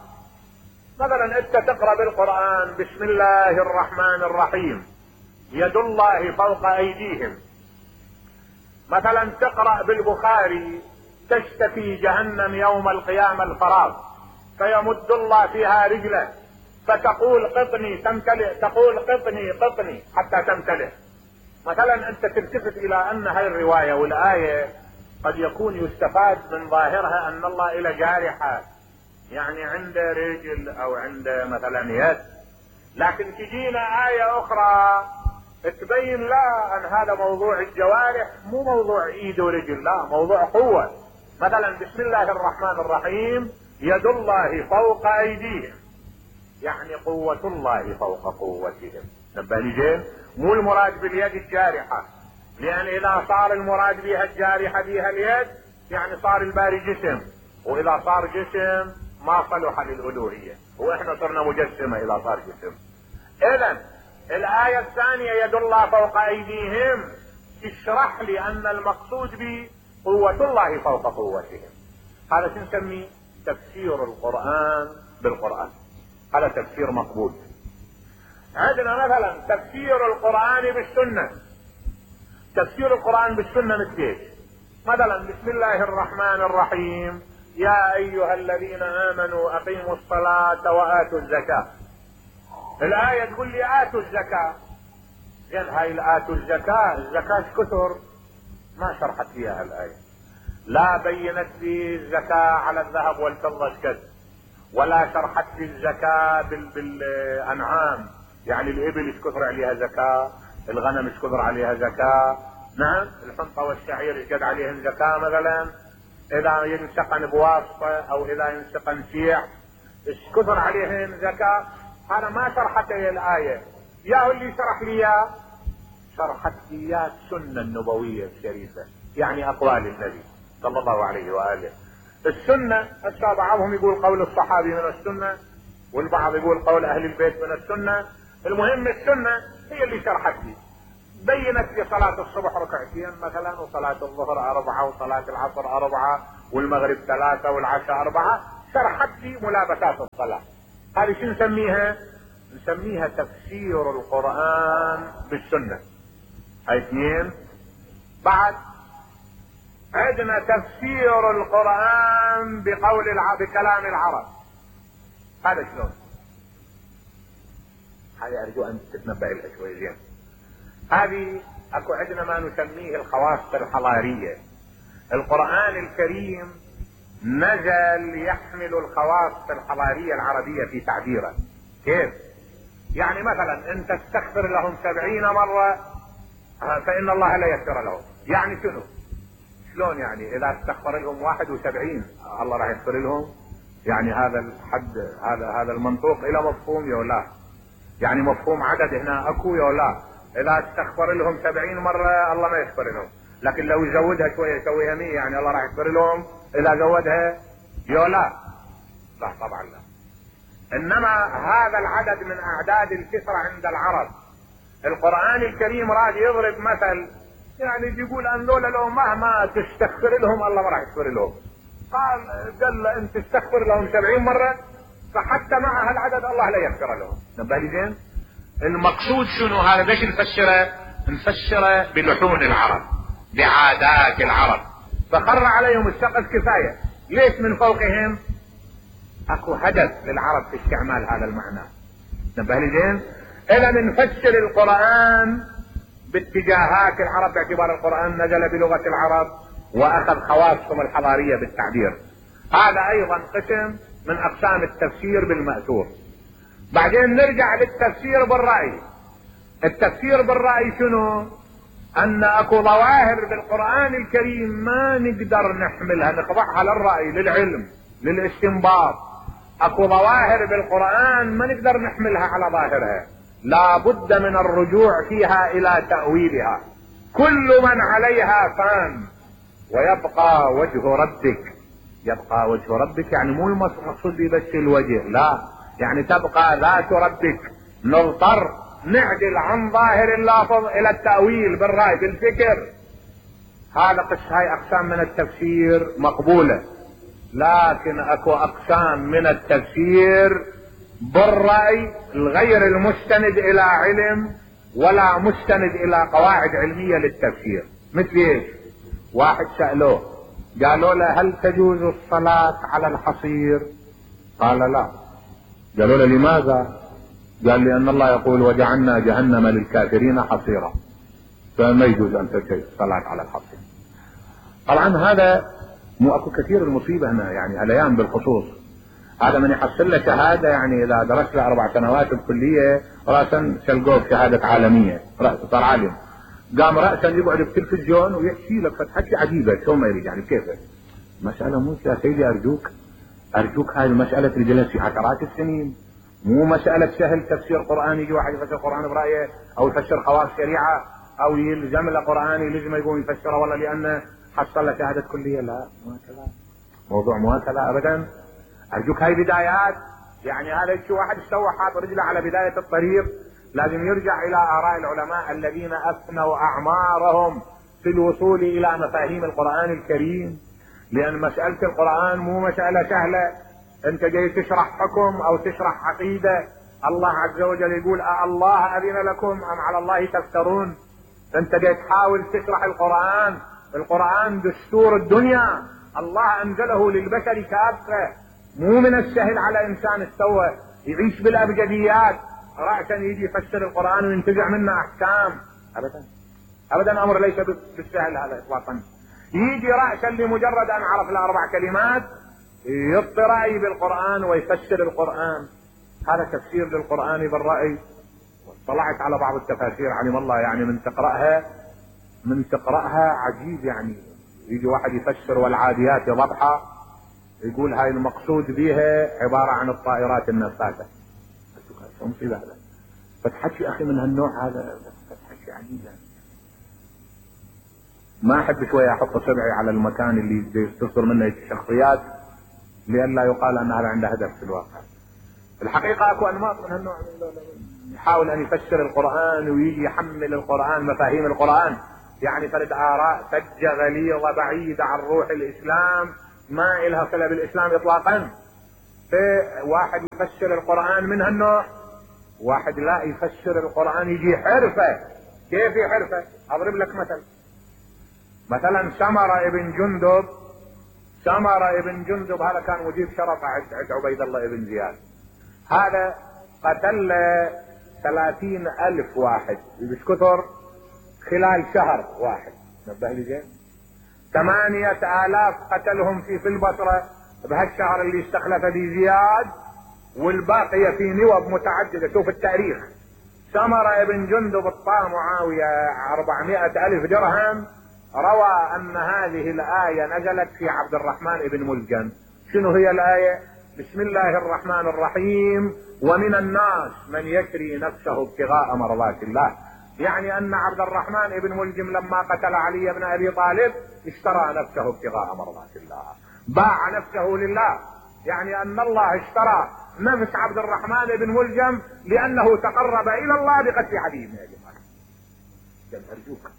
مثلا انت تقرأ بالقرآن بسم الله الرحمن الرحيم يد الله فوق ايديهم، مثلا تقرأ بالبخاري تشتكي جهنم يوم القيامة الفراغ فيمد الله فيها رجله فتقول قطني تمتلئ، تقول قطني قطني حتى تمتلئ. مثلا انت تلتفت الى ان هاي الرواية والاية قد يكون يستفاد من ظاهرها ان الله الى جارحة، يعني عنده رجل او عنده مثلا يد، لكن تجينا آية اخرى تبين لا ان هذا موضوع الجوارح مو موضوع ايد ورجل، لا موضوع قوة. مثلا بسم الله الرحمن الرحيم يد الله فوق ايديهم، يعني قوة الله فوق قوتهم. نبالي زين؟ مو المراد باليد الجارحة، لان اذا صار المراد بها الجارحة بها اليد يعني صار الباري جسم، واذا صار جسم ما صلح للالوهية، واحنا صرنا مجسمة اذا صار جسم. اذا الآية الثانية يد الله فوق ايديهم تشرح لي ان المقصود به قوة الله فوق قوتهم. هذا شو نسميه؟ تفسير القرآن بالقرآن. هذا تفسير مقبول. عندنا مثلا تفسير القرآن بالسنة. تفسير القرآن بالسنة مثل ايش؟ مثلا بسم الله الرحمن الرحيم يا ايها الذين امنوا اقيموا الصلاة واتوا الزكاة. الآية تقول لي آتوا الزكاة. زين هاي الآتوا الزكاة، الزكاة كثر ما شرحت فيها الآية، لا بينت لي الزكاة على الذهب والفضة كذا، ولا شرحت لي الزكاة بال... بالأنعام، يعني الإبل ايش كثر عليها زكاة، الغنم ايش كثر عليها زكاة، نعم الحنطة والشعير ايش قد عليهم زكاة مثلا، إذا ينسقن بواسطة أو إذا ينسقن شيع ايش كثر عليهم زكاة. هذا ما شرحت لي الآية، يا اللي شرح لي يا شرحت لي يا السنة النبوية الشريفة، يعني أقوال النبي صلى الله عليه وآله. السنة هسه بعضهم يقول قول الصحابي من السنة، والبعض يقول قول أهل البيت من السنة. المهم السنة هي اللي شرحت لي، بينت لي صلاة الصبح ركعتين مثلا، وصلاة الظهر أربعة، وصلاة العصر أربعة، والمغرب ثلاثة، والعشاء أربعة، شرحت لي ملابسات الصلاة. هذه شو نسميها؟ نسميها تفسير القرآن بالسنة. هاي اثنين. بعد عندنا تفسير القرآن بقول الع... بكلام العرب. هذا شلون؟ هذه ارجو ان تتنبأ لها شوي زين. هذه اكو عندنا ما نسميه الخواص الحضارية. القرآن الكريم نزل يحمل الخواص الحضارية العربية في تعبيره. كيف؟ يعني مثلا انت تستغفر لهم سبعين مرة فان الله لا يغفر لهم، يعني شنو؟ شلون يعني اذا استغفر لهم واحد وسبعين الله راح يغفر لهم؟ يعني هذا الحد، هذا هذا المنطوق الى مفهوم يا لا؟ يعني مفهوم عدد هنا اكو يا لا؟ اذا استغفر لهم سبعين مرة الله ما يغفر لهم، لكن لو يزودها شوية يسويها مية يعني الله راح يغفر لهم اذا زودها يا لا؟ لا طبعا لا. انما هذا العدد من اعداد الكثرة عند العرب. القرآن الكريم راد يضرب مثل، يعني يقول ان لولا لو مهما تستغفر لهم الله ما راح يغفر لهم. قال قال انت تستغفر لهم سبعين مرة فحتى مع هالعدد الله لا يغفر لهم. نبالي زين؟ المقصود شنو هذا؟ ليش نفسره؟ نفسره بلحون العرب، بعادات العرب، فخر عليهم السقف كفاية. ليش من فوقهم؟ اكو هدف للعرب في استعمال هذا المعنى. نبالي زين؟ اذا نفسر القرآن باتجاهات العرب باعتبار القرآن نزل بلغة العرب واخذ خواصهم الحضارية بالتعبير. هذا ايضا قسم من اقسام التفسير بالمأثور. بعدين نرجع للتفسير بالرأي. التفسير بالرأي شنو؟ ان اكو ظواهر بالقرآن الكريم ما نقدر نحملها نخضعها للرأي للعلم، للاستنباط. اكو ظواهر بالقرآن ما نقدر نحملها على ظاهرها، لا بد من الرجوع فيها الى تأويلها. كل من عليها فان ويبقى وجه ربك. يبقى وجه ربك يعني مو المقصود بس الوجه، لا، يعني تبقى ذات ربك. نضطر نعدل عن ظاهر اللافظ الى التأويل بالرأي بالفكر. هذا قس هاي اقسام من التفسير مقبولة، لكن اكو اقسام من التفسير بالرأي الغير المستند الى علم ولا مستند الى قواعد علمية للتفسير. مثل ايش؟ واحد سألوه قالوا له هل تجوز الصلاة على الحصير؟ قال لا. قالوا له لماذا؟ قال لأن الله يقول وجعلنا جهنم للكافرين حصيرا، فما يجوز أن تجوز الصلاة على الحصير. طبعا هذا مو اكو كثير المصيبة هنا، يعني الايام بالخصوص. هذا من يحصل له شهادة، يعني اذا درس له اربع سنوات بكلية رأسا شلقوه بشهادة عالمية، رأسا صار عالم، قام رأسا يقعد بالتلفزيون ويحكي لك فتحكي عجيبة شو ما يريد، يعني كيف مسألة مو يا سيدي ارجوك ارجوك هاي المسألة تجلس في عشرات السنين، مو مسألة سهل تفسير قرآن يجي واحد يفسر قرآن برأيه او يفسر خواص شريعة او يلزم له قرآن يلزم يقوم يفسره والله لانه حصل له شهادة كلية. لا، مو هكذا موضوع، مو هكذا ابدا. ارجوك هاي بدايات، يعني هذا شو واحد استوى حاط رجله على بداية الطريق، لازم يرجع الى اراء العلماء الذين افنوا اعمارهم في الوصول الى مفاهيم القرآن الكريم. لان مسألة القرآن مو مسألة سهلة، انت جاي تشرح حكم او تشرح عقيدة. الله عز وجل يقول أه الله اذن لكم ام على الله تفترون. انت جاي تحاول تشرح القرآن. القرآن دستور الدنيا، الله انزله للبشر كافة، مو من السهل على انسان استوى يعيش بالابجديات رأسا يجي يفسر القرآن وينتزع منه احكام. ابدا ابدا، امر ليس بالسهل هذا اطلاقا. يجي رأسا لمجرد ان عرف الاربع كلمات يبطي رأي بالقرآن ويفسر القرآن. هذا تفسير للقرآن بالرأي. طلعت على بعض التفاسير علم الله، يعني من تقرأها من تقرأها عجيب، يعني يجي واحد يفسر والعاديات ضبحا يقول هاي المقصود بها عبارة عن الطائرات النفاثة. شو مصيبة هذا؟ فتحكي اخي من هالنوع هذا، فتحكي عجيب. ما احب شوية احط صبعي على المكان اللي تصدر منه الشخصيات لئلا يقال ان هذا عنده هدف في الواقع. الحقيقة اكو انماط من هالنوع، يحاول ان يفسر القرآن ويجي يحمل القرآن مفاهيم القرآن، يعني فرد آراء فجة غليظة بعيدة عن روح الإسلام، ما إلها صلة بالإسلام إطلاقا. واحد يفسر القرآن من هالنوع، واحد لا يفسر القرآن يجي حرفة. كيف حرفة؟ أضرب لك مثل. مثلا سمرة ابن جندب سمرة ابن جندب هذا كان مجيب شرف عند عبيد الله ابن زياد. هذا قتل ثلاثين ألف واحد مش كثر خلال شهر واحد. نبه لي زين، ثمانية آلاف قتلهم في في البصرة بهالشهر اللي استخلف به زياد، والباقية في نوب متعددة. شوف التاريخ. سمرة ابن جندب اعطاه معاوية أربعمائة ألف درهم. روى أن هذه الآية نزلت في عبد الرحمن ابن ملجم. شنو هي الآية؟ بسم الله الرحمن الرحيم ومن الناس من يشري نفسه ابتغاء مرضات الله. يعني أن عبد الرحمن ابن ملجم لما قتل علي بن أبي طالب اشترى نفسه ابتغاء مرضات الله، باع نفسه لله. يعني أن الله اشترى نفس عبد الرحمن بن ملجم لأنه تقرب إلى الله بقتل علي بن أبي طالب. أرجوك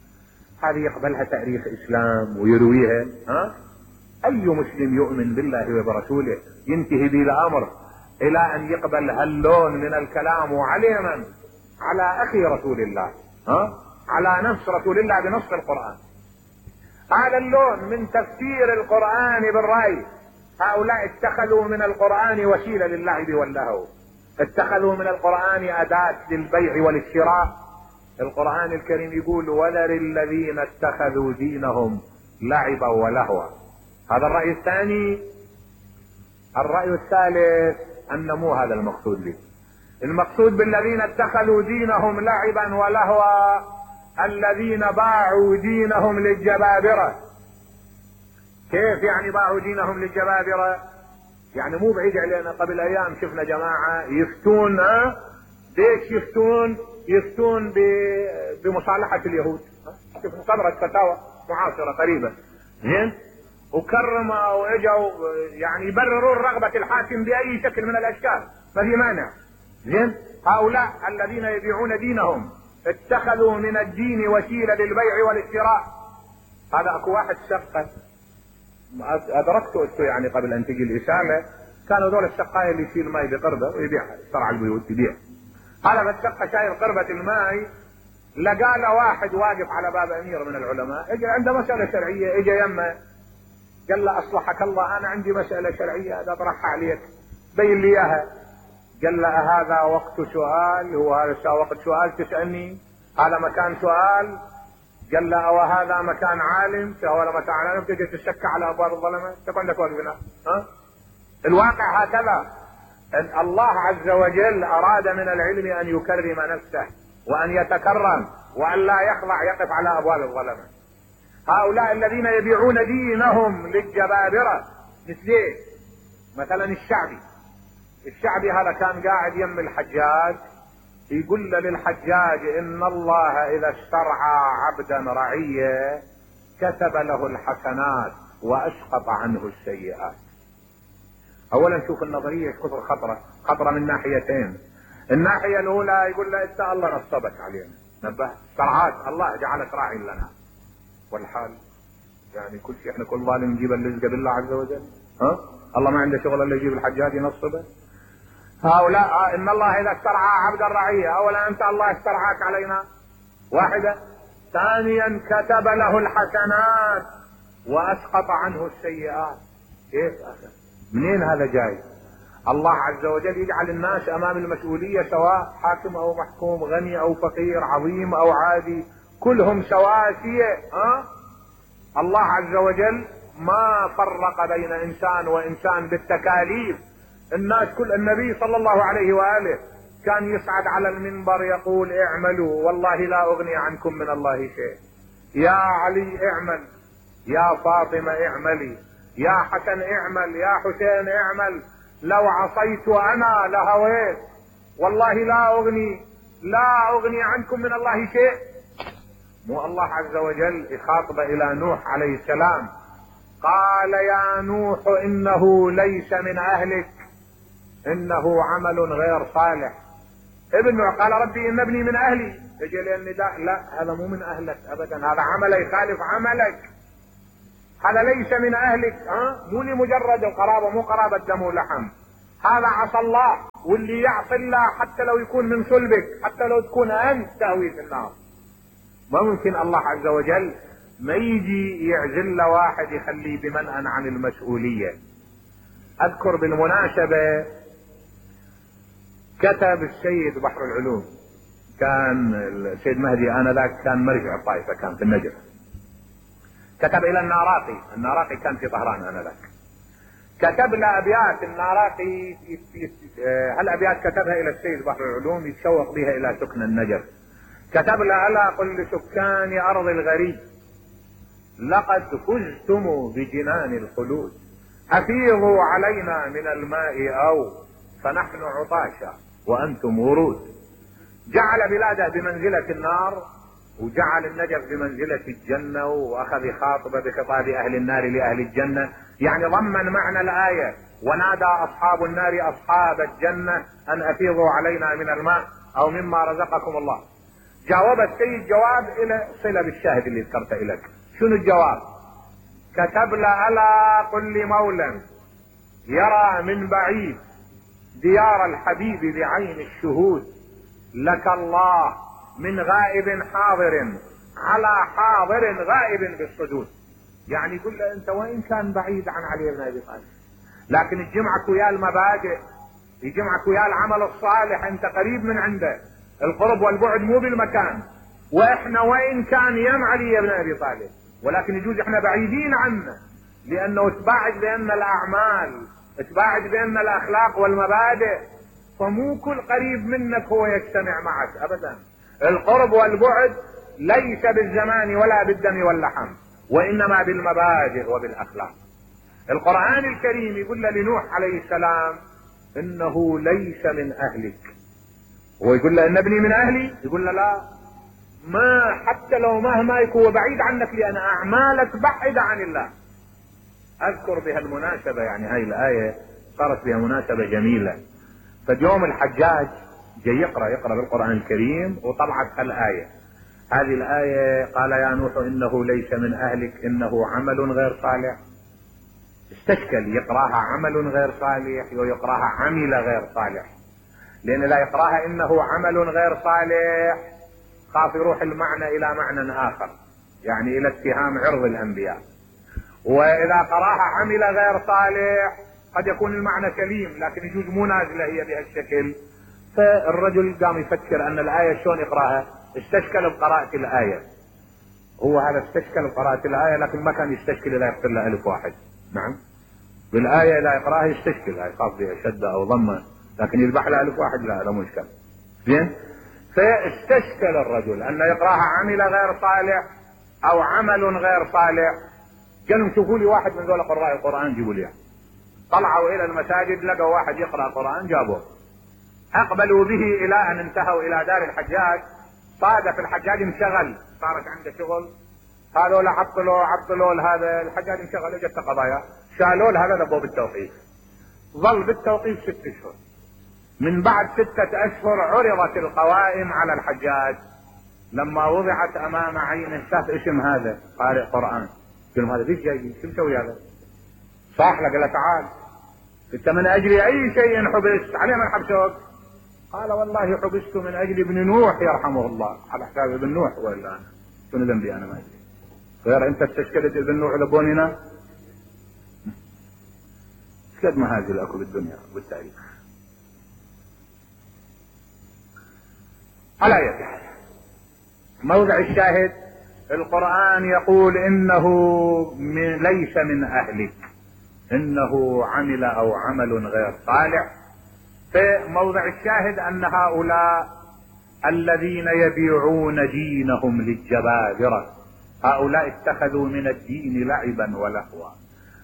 هذه يقبلها تاريخ إسلام ويرويها؟ ها؟ أي مسلم يؤمن بالله وبرسوله ينتهي به الأمر إلى أن يقبل هاللون من الكلام وعليما على أخي رسول الله، ها؟ على نفس رسول الله بنص القرآن. هذا اللون من تفسير القرآن بالرأي. هؤلاء اتخذوا من القرآن وسيلة للعب واللهو، اتخذوا من القرآن أداة للبيع وللشراء. القرآن الكريم يقول وذر الذين اتخذوا دينهم لعبا ولهوا. هذا الرأي الثاني. الرأي الثالث أن مو هذا المقصود به. المقصود بالذين اتخذوا دينهم لعبا ولهوا الذين باعوا دينهم للجبابرة. كيف يعني باعوا دينهم للجبابرة؟ يعني مو بعيد علينا، قبل ايام شفنا جماعة يفتون، ها ليش يفتون؟ يفتون بمصالحة اليهود. شفنا صدرت فتاوى معاصرة قريبة، زين، وكرموا واجوا يعني يبررون رغبة الحاكم باي شكل من الاشكال، ما في مانع، زين. هؤلاء الذين يبيعون دينهم اتخذوا من الدين وسيلة للبيع والاشتراء. هذا اكو واحد شقة ادركته انتو يعني قبل ان تجي الاسامة، كانوا دول الشقاية اللي يشيل ماء بقربة ويبيعها، يشترع البيوت يبيع. هذا بالشقة شايل قربة الماء، لقى له واحد واقف على باب امير من العلماء، اجى عنده مسألة شرعية، اجى يمه قال له اصلحك الله انا عندي مسألة شرعية هذا اطرحها عليك، بين لي اياها. قال له هذا وقت سؤال؟ هو هذا وقت سؤال تسألني؟ هذا مكان سؤال؟ قال له او هذا مكان عالم؟ ولا مكان عالم تجي تشك على ابواب الظلمة؟ انت عندك واقف هنا، ها؟ الواقع هكذا، ان الله عز وجل اراد من العلم ان يكرم نفسه وان يتكرم وان لا يخضع يقف على ابواب الظلمة. هؤلاء الذين يبيعون دينهم للجبابرة مثل مثلا الشعبي. الشعبي هذا كان قاعد يم الحجاج، يقول للحجاج ان الله اذا استرعى عبدا رعية كتب له الحسنات واسقط عنه السيئات. اولا شوف النظرية كثر خطرة، خطرة من ناحيتين. الناحية الاولى يقول له انت الله نصبك علينا، نبه استرعاك الله جعلك راعي لنا، والحال يعني كل شيء احنا كل ظالم نجيب الرزق بالله عز وجل، ها؟ الله ما عنده شغل الا يجيب الحجاج ينصبه. هؤلاء ان الله اذا استرعى عبدا رعية، اولا انت الله استرعاك علينا، واحدة. ثانيا كتب له الحسنات واسقط عنه السيئات. كيف هذا؟ منين هذا جاي؟ الله عز وجل يجعل الناس امام المسؤولية سواء، حاكم او محكوم، غني او فقير، عظيم او عادي، كلهم سواسية، ها؟ الله عز وجل ما فرق بين انسان وانسان بالتكاليف. الناس كل النبي صلى الله عليه وآله كان يصعد على المنبر يقول اعملوا والله لا اغني عنكم من الله شيء، يا علي اعمل، يا فاطمة اعملي، يا حسن اعمل، يا حسين اعمل، لو عصيت انا لهويت، والله لا اغني لا اغني عنكم من الله شيء. مو الله عز وجل يخاطب الى نوح عليه السلام قال يا نوح انه ليس من اهلك انه عمل غير صالح. ابن نوح قال ربي ان ابني من اهلي، يجي لي النداء لا هذا مو من اهلك ابدا، هذا عمل يخالف عملك، هذا ليس من اهلك، ها؟ مو لمجرد القرابة، مو قرابة دم ولحم، هذا عصى الله، واللي يعصي الله حتى لو يكون من صلبك، حتى لو تكون انت تهوي في النار. ما ممكن الله عز وجل ما يجي يعزل واحد يخليه بمنأى عن المسؤولية. اذكر بالمناسبة كتب السيد بحر العلوم، كان السيد مهدي انذاك كان مرجع الطائفة، كان في النجف، كتب الى الناراقي، الناراقي كان في طهران انذاك، كتب له ابيات. الناراقي هالابيات كتبها الى السيد بحر العلوم يتشوق بها الى سكن النجف. كتب له الا قل لسكان ارض الغريب لقد فزتم بجنان الخلود، افيضوا علينا من الماء او فنحن عطاشا وانتم ورود. جعل بلاده بمنزلة النار وجعل النجف بمنزلة الجنة، واخذ يخاطب بخطاب اهل النار لاهل الجنة، يعني ضمن معنى الاية ونادى اصحاب النار اصحاب الجنة ان افيضوا علينا من الماء او مما رزقكم الله. جاوب السيد جواب الى صلة بالشاهد اللي ذكرته لك. شنو الجواب؟ كتب له الا قل لمولى يرى من بعيد ديار الحبيب بعين الشهود، لك الله من غائب حاضر على حاضر غائب بالصدود. يعني يقول له انت وين كان بعيد عن علي بن ابي طالب، لكن يجمعك ويا المبادئ، يجمعك ويا العمل الصالح، انت قريب من عنده. القرب والبعد مو بالمكان، واحنا وين كان يم علي بن ابي طالب، ولكن يجوز احنا بعيدين عنه لانه تباعد بان الاعمال، تباعد بان الاخلاق والمبادئ، فمو كل قريب منك هو يجتمع معك ابدا. القرب والبعد ليس بالزمان ولا بالدم واللحم، وانما بالمبادئ وبالاخلاق. القرآن الكريم يقول له لنوح عليه السلام انه ليس من اهلك، هو يقول له ان ابني من اهلي، يقول له لا، ما حتى لو مهما يكون بعيد عنك لان اعمالك بعيدة عن الله. اذكر بها المناسبة، يعني هاي الاية صارت بها مناسبة جميلة. فاليوم الحجاج جاي يقرأ يقرأ بالقرآن الكريم وطلعت هالآية. هذه الآية قال يا نوح انه ليس من اهلك انه عمل غير صالح. استشكل يقراها عمل غير صالح ويقراها عمل غير صالح، لان لا يقراها انه عمل غير صالح خاف يروح المعنى الى معنى اخر، يعني الى اتهام عرض الانبياء. واذا قراها عمل غير صالح قد يكون المعنى سليم لكن يجوز مو نازله هي بهالشكل. فالرجل قام يفكر ان الايه شلون يقراها، استشكل بقراءة الايه. هو هذا استشكل بقراءة الايه لكن ما كان يستشكل اذا يقتل له الف واحد. نعم، بالايه لا يقراها يستشكل، يخاف بها شده او ضمه، لكن يذبح له الف واحد لا، هذا مو اشكال. زين، فاستشكل الرجل ان يقراها عمل غير صالح او عمل غير صالح. قالوا شوفوا لي واحد من ذول قراء القران جيبوا لي. طلعوا الى المساجد لقوا واحد يقرا القران جابوه. اقبلوا به الى ان انتهوا الى دار الحجاج. صادف الحجاج انشغل، صارت عنده شغل، هذول عطلوا عطلوا هذا الحجاج انشغل، اجت قضايا شالوا له هذا لبوه بالتوقيف. ظل بالتوقيف ست اشهر. من بعد ستة اشهر عرضت القوائم على الحجاج. لما وضعت امام عينه شاف اسم هذا قارئ قرآن. قال هذا ليش جاي؟ شو مسوي هذا؟ صاح له، قال له تعال انت من اجل اي شيء حبست؟ عليه من حبسوك؟ قال والله حبست من اجل ابن نوح يرحمه الله. على حساب ابن نوح ولا انا؟ شنو ذنبي انا؟ ما ادري. غير انت استشكلت ابن نوح لبوننا؟ قد ما هذه الاكل بالدنيا والتاريخ. على اية حال، موضع الشاهد القرآن يقول انه من ليس من اهلك، انه عمل او عمل غير صالح. في موضع الشاهد ان هؤلاء الذين يبيعون دينهم للجبابرة، هؤلاء اتخذوا من الدين لعبا ولهوا.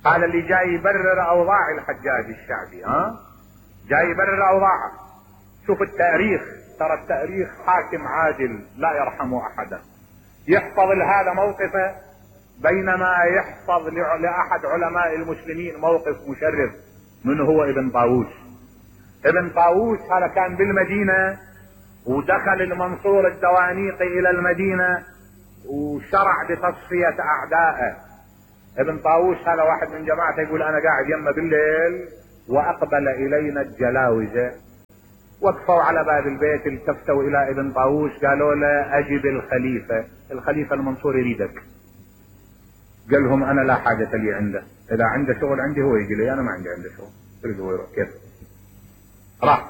هذا اللي جاي يبرر اوضاع الحجاج الشعبي، ها جاي يبرر اوضاعه. شوف التاريخ، ترى التاريخ حاكم عادل لا يرحم احدا. يحفظ لهذا موقفه بينما يحفظ لاحد علماء المسلمين موقف مشرف، من هو ابن طاووس. ابن طاووس هذا كان بالمدينة ودخل المنصور الدوانيقي الى المدينة وشرع بتصفية اعدائه. ابن طاووس هذا واحد من جماعته يقول انا قاعد يمه بالليل واقبل الينا الجلاوزة، وقفوا على باب البيت، التفتوا الى ابن طاووس قالوا له اجب الخليفة، الخليفة المنصور يريدك. قال لهم انا لا حاجة لي عنده، اذا عنده شغل عندي هو يجي لي، انا ما عندي عنده شغل. يريد هو يروح كيف؟ راح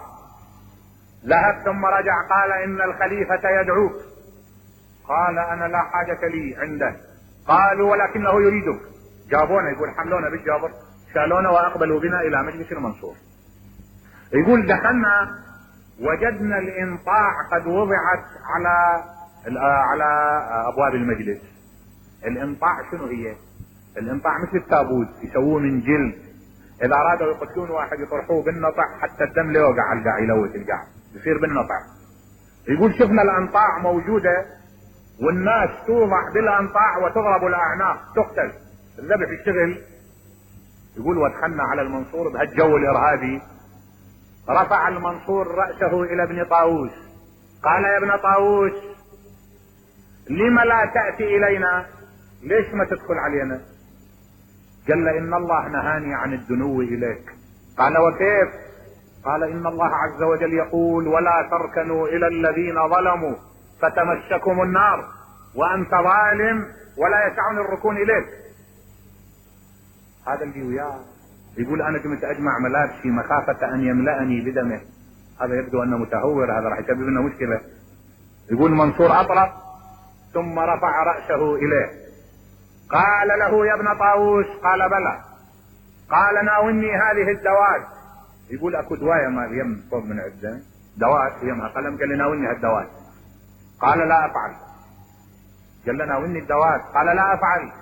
ذهب ثم رجع قال ان الخليفة يدعوك. قال انا لا حاجة لي عنده. قالوا ولكنه يريدك. جابونا، يقول حملونا بالجابر، شالونا واقبلوا بنا الى مجلس المنصور. يقول دخلنا وجدنا الانطاع قد وضعت على على ابواب المجلس. الانطاع شنو هي؟ الانطاع مثل التابوت، يسووه من جلد، اذا ارادوا يقتلون واحد يطرحوه بالنطع حتى الدم لا يوقع على القاع، يلوث القاع، يصير بالنطع. يقول شفنا الانطاع موجودة والناس توضع بالانطاع وتضرب الاعناق تقتل، الذبح يشتغل. يقول ودخلنا على المنصور بهالجو الارهابي. رفع المنصور رأسه الى ابن طاووس قال يا ابن طاووس لم لا تأتي الينا؟ ليش ما تدخل علينا؟ قال له ان الله نهاني عن الدنو اليك. قال وكيف؟ قال ان الله عز وجل يقول ولا تركنوا الى الذين ظلموا فتمسكم النار وانت ظالم ولا يسعني الركون اليك. هذا اللي وياه يقول انا كنت اجمع ملابسي مخافة ان يملأني بدمه. هذا يبدو انه متهور، هذا راح يسبب لنا مشكلة. يقول منصور اطرق ثم رفع رأسه اليه قال له يا ابن طاووس؟ قال بلى. قال ناولني هذه الدوات. يقول اكو دواية ما يم فوق من عده دوات يمها قلم. قال لي ناولني هالدوات. قال لا افعل. قال له ناولني الدوات. قال لا افعل.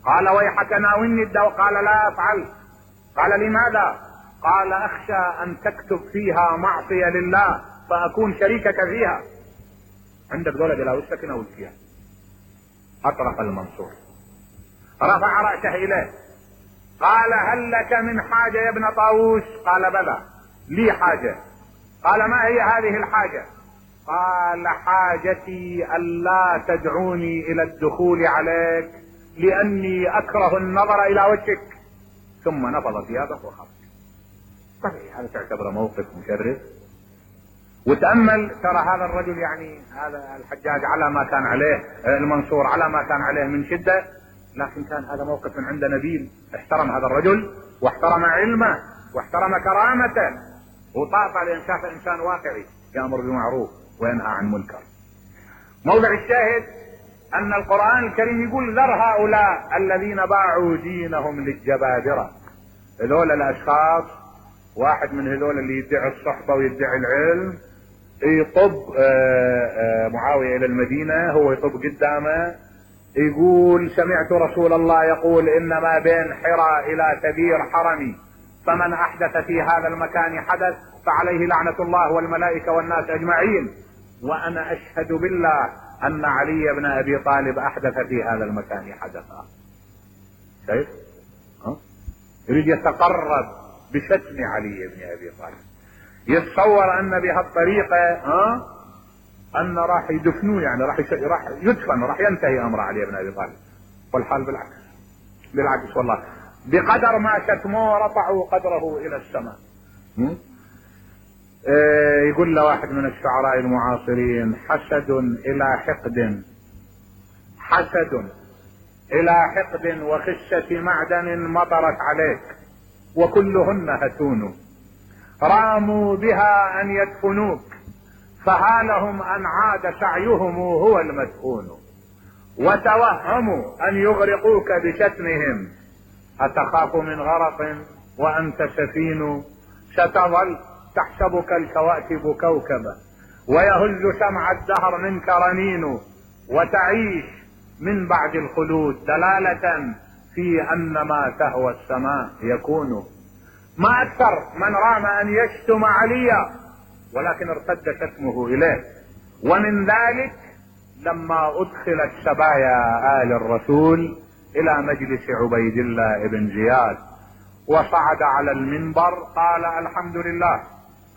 قال ويحك ناولني الدواء. قال لا افعل. قال لماذا؟ قال اخشى ان تكتب فيها معصية لله فاكون شريكك فيها. عندك دولة بلا وشك ناول فيها. اطرق المنصور، رفع رأسه اليه، قال هل لك من حاجة يا ابن طاووس؟ قال بلى لي حاجة. قال ما هي هذه الحاجة؟ قال حاجتي ألا تدعوني إلى الدخول عليك لأني أكره النظر إلى وجهك. ثم نفض ثيابه وخرج. طبيعي هذا تعتبره موقف مشرف. وتأمل ترى هذا الرجل، يعني هذا الحجاج على ما كان عليه، المنصور على ما كان عليه من شدة، لكن كان هذا موقف من عند نبيل. احترم هذا الرجل واحترم علمه واحترم كرامته وطاطا، لأن شاف إنسان واقعي يأمر بالمعروف وينهى عن منكر. موضع الشاهد أن القرآن الكريم يقول ذر هؤلاء الذين باعوا دينهم للجبابرة. هذول الأشخاص، واحد من هذول اللي يدعي الصحبة ويدعي العلم، يطب معاوية إلى المدينة، هو يطب قدامه يقول سمعت رسول الله يقول إن ما بين حراء إلى تبير حرمي، فمن أحدث في هذا المكان حدث فعليه لعنة الله والملائكة والناس أجمعين، وأنا أشهد بالله أن علي بن أبي طالب أحدث في هذا المكان حدثا. شايف؟ ها؟ يريد يتقرب بشتم علي بن أبي طالب، يتصور أن بهالطريقة ها أن راح يدفنوه، يعني راح راح يدفن، راح ينتهي أمر علي بن أبي طالب. والحال بالعكس، بالعكس والله، بقدر ما شتموه رفعوا قدره إلى السماء. إيه يقول له واحد من الشعراء المعاصرين حسد إلى حقد، حسد إلى حقد وخشة معدن مطرت عليك وكلهن هتون، راموا بها أن يدفنوك فهالهم أن عاد سعيهم هو المدفون، وتوهموا أن يغرقوك بشتمهم، أتخاف من غرق وأنت سفين، ستظل تحسبك الكواكب كوكبا ويهز سمع الدهر منك رنين، وتعيش من بعد الخلود دلالة في أن ما تهوى السماء يكون. ما أكثر من رام أن يشتم عليا ولكن ارتد شتمه إليه. ومن ذلك لما أدخلت سبايا آل الرسول إلى مجلس عبيد الله بن زياد وصعد على المنبر قال الحمد لله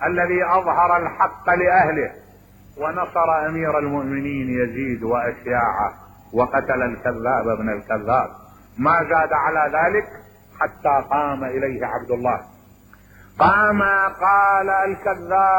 الذي أظهر الحق لأهله ونصر أمير المؤمنين يزيد وأشياعه وقتل الكذاب ابن الكذاب. ما زاد على ذلك حتى قام إليه عبد الله، قام قال الكذاب